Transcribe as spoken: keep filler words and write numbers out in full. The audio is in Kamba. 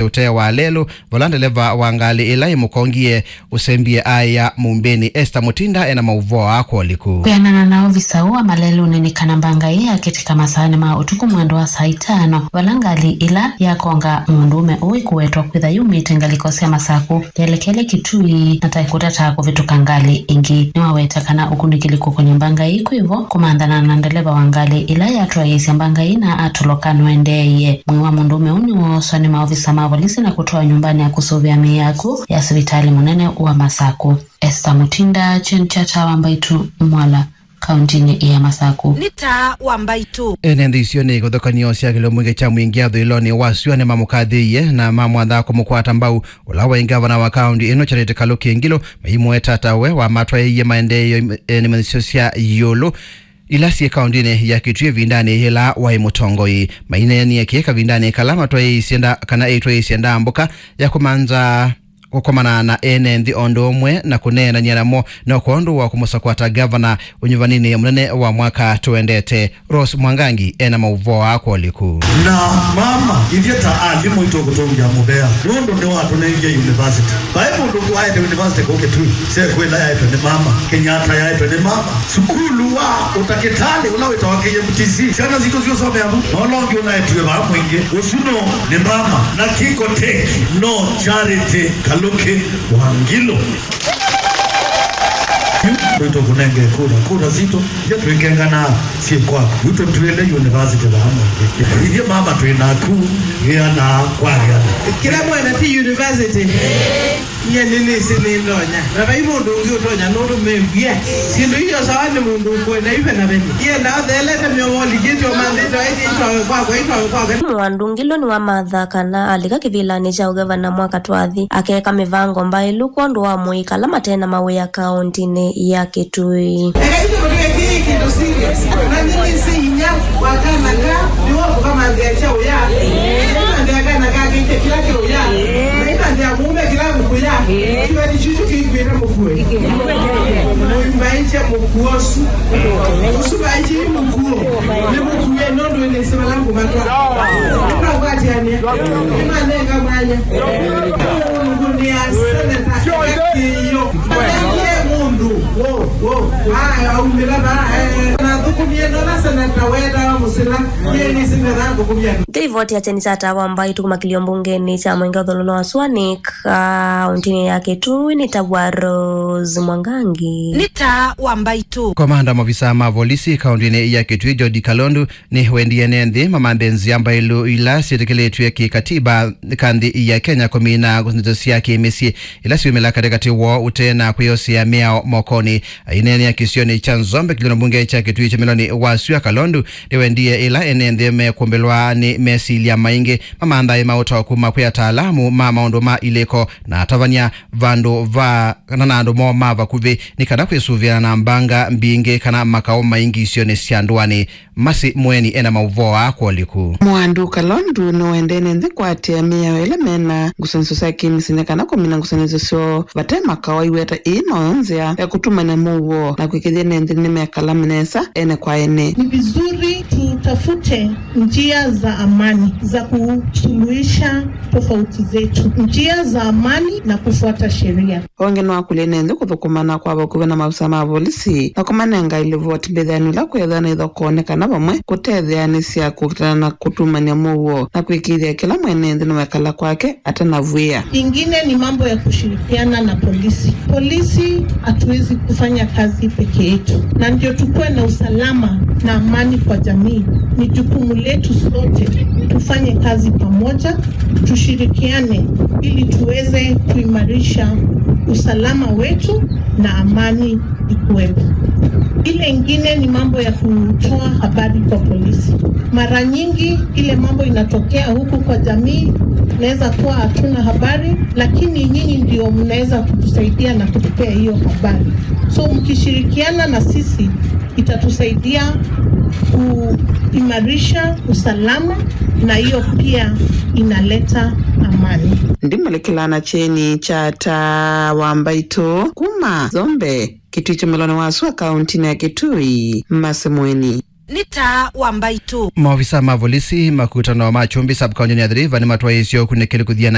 ũtee wa lelũ, vala ndeleva wa ngalĩ ĩla ĩmũkongie ũsembie aĩ ya Mũmbĩnĩ. Esther Mutinda ena maũvoo aa kwa ũliku. Kwĩanana na ovisa ũũ wa malelũnĩ, nĩ kana mbanga ĩĩ yakĩtĩka masaanĩ ma ũtukũ mwendo wa saa itano, vala ngalĩ ĩla yakonga mũndũũme ũũ ĩkũwetwa kwĩtha yumĩte ngalĩko sya Masakũ, yelekele Kitui na ta ĩkũtata kũvĩtũka ngalĩ ĩngĩ. Nĩwaweta kana ũkunĩkĩli kũkony'a mbanga ĩĩ kwĩvo kũmanthana na ndeleva wa ngalĩ ĩla yatwaĩĩsye mbanga ĩĩ na atoloka nũendeeie. Mwĩĩ wa mũndũũme ũũ nĩwooswa nĩ maovisa ma volisi na kũtwawa nyũmbanĩ ya kũsũvĩa mĩĩ ya akw'ũ ya sivitalĩ mũnene wa Masakũ. Esther Mutinda, Chen Chata wa Mbaitu Mwala, kauntinĩ ya Masakũ. Nĩ taa wa Mbaitu. Ene nthĩ icio nĩ ĩkũthũkanio sya kĩlio mwingĩ kya mwingĩ athũĩlonĩ wa syũa nĩmamũkathĩĩie na mamwatha kũmũkwata mbau. Ũla waĩ ngavana wa kaunti ĩno Charity Kaluki Ngilu maimũeta ta we wamatwaĩie maendeeo nĩmanyĩsyo sya ĩũlũ ila syĩ kauntinĩ ya Kitui ĩvindanĩ yĩla waĩ mũtongoi. Maineenie kĩĩ kavindanĩ kala matwaĩĩsye nda-, kana ĩtwaĩĩsye ndambũka ya kũmantha kũkomana na ene nthĩ o ũndũ ũmwe na kũneenany'a namo, no kwondũ wa kũmũsakũa ta ngavana ũnyuvaninĩ mũnene wa mwaka tũendete. Rose Mwangangi ena maũvoo aa kwa ũliku. Na mama, ithyĩ ta alimũ itũkũtũngĩa mũvea nũndũ nĩwatũnengie university. Vai mũndũ ũngĩ waete university kũu Kitui, sekwĩla yaetwe nĩ mama, Kenyatta yaetwe nĩ mama. Sukulu wa ũtakĩtalĩ ũla wĩtawa K M T C, syana sitũ syũsomea vu, na ũla ũngĩ ũnaetiwe vaa mwingĩ. Ũsu no nĩ mama, na Kiko Tech no Charity Kaluki wa Ngilu. Yu tũkũnenge kura, kura sitũ, ithyĩ twĩkenganaa syĩ kwaku. Yu tũtwĩle university vaa mwingĩ. Ithyĩ mama twĩ naku, gĩanaa kwa gĩana. Kĩla mwene ti university. Nyie nĩnĩsĩ nĩndonya. Na vai mũndũ ũngĩ ũtonya nũndũ mew'ie. Syĩndũ iyo sawa nĩ mũndũ ũkwenda ive na vene. Yenda ũthelete mĩovo likĩtyo manthĩtyo aitĩ itwawe kwakwa, itwawe kwakwa. Mũandũ Ngilu nĩwamatha kana alika kĩvĩlanĩ kya ũgavana mwaka twathi, akeka mĩvango mbaĩlu kwondũ wa mũika ala mate na mawĩa kauntinĩ ya Kitui. Eka itũ tũtwĩkĩe kĩndũ serious. Na nĩnĩsĩ inya wa kana ka nĩwe ũkũkamanthĩa kya ũya. Nĩmanthĩa kana ka kĩkye kĩla kĩ ũya. Nĩmanthĩa mũũme kĩla mũkũya. Kĩveti kyu kĩkwĩta mũkue. Mũimbaĩkye mũkuo ũsu. Ũsu vaĩkye mũkuo. Nĩ mũkue nũndũ nĩsĩ vala ngũmatwa. Nĩmakwatĩanĩa. Nĩmanenga mwanya. Nũndũ nĩ a seneta kĩyo. Nĩ mũndũ. Wo, wo. Aya, aumĩla va, eh, nathũkũmie nola seneta wetawa Mũsila. Yeye nĩsĩ metha ngũkũmia. Nthĩ ivoti ya kyeni kya Tawa Mbai tũkũmakĩlio mbungenĩ kya Mwenge ũthũlũlo wa Swanik, kauntinĩ ya Kitui nĩ ta wa Rose Mwangangi. Nĩ taa wa Mbaitũ. Komanda wa maofisa ma volisi kauntinĩ ya Kitui, Jodi Kalondu, nĩwendie ene nthĩ mamanthe nzĩa mbaĩlu ila syĩtĩkĩlĩtw'e kĩkatiba ka nthĩ ya Kenya kũmina ngũsanĩsyo sya kĩmĩsyĩ ila syumĩla katĩkatĩ woo ũte na kwĩyosea mĩao mokonĩ. Aineenea kĩsionĩ kya Nzombe kĩlĩonĩ mbunge kya Kitui kya Meloni wa Sua, Kalondu nĩwendie ĩla ene nthĩ mekũmbĩlwa nĩ mesilya maingĩ mamanthae maũtao kuma kwĩ ataalamu ma maũndũ ma ilĩko na atavany'a vandũ va kana na andũ moo ma vakuvĩ nĩ kana kwĩsũvĩana na mbanga mbingĩ kana makaũ maingĩ isionĩ sya ndũanĩ. Masi Mweni ena maũvoo aa kwa ũliku. Mwandu Kalondu nĩwendene nthĩ kũatĩĩa mĩao ĩla mena ngũsanĩsyo sya kĩmĩsyĩ nĩ kana kũmina ngũsanĩsyo syoo vate makaũ. Aiweta ĩĩ noyo nzĩa ya kũtumany'a mũuo na kwĩkĩthya ene nthĩ nĩmekala nesa ene kwa ene. Ni vizuri tutafute njia za amani za kusuluhisha tofauti zetu, njia za amani na kufuata sheria. Onge nĩwakũlya ene nthĩ kũthũkũmana kwa vakuvĩ na maofisa ma volisi na kũmanenga ilivoti mbĩthĩanĩ ĩla kwĩthĩwa nĩthokonekana vamwe kũtetheanĩsya kũkitana na kũtumany'a mũuo na kwĩkĩĩthya kĩla mwene nthĩ nĩwekala kwake atanavw'ĩa. Ingine ni mambo ya kushirikiana na polisi. Polisi hatuwezi kufanya kazi peke yetu, na ndio tukuwe na usalama na amani kwa jamii. Ni jukumu letu sote tufanye kazi pamoja, tushirikiane ili tuweze kuimarisha usalama wetu na amani ikuwepo. Ile ingine ni mambo ya kutoa habari kwa polisi. Mara nyingi ile mambo inatokea huku kwa jamii, inaweza kuwa hatuna habari, lakini nyinyi ndio mnaweza kutusaidia na kutupea hiyo habari. So mkishirikiana na sisi, itatusaidia kuimarisha usalama, na hiyo pia inaleta amani. Ndimũlĩkĩla na kyeni kya Taa wa Mbaitũ kuma Nzombe, Kitui kya Meloni wa Sua, kauntinĩ ya Kitui, Masi Mweni. nĩ taa wa mbaitũ. Maovisa ma volisi makutano ma Kyumbi sub-county ya Athi River nĩmatwaĩĩsye ũkunĩkĩli kũthiana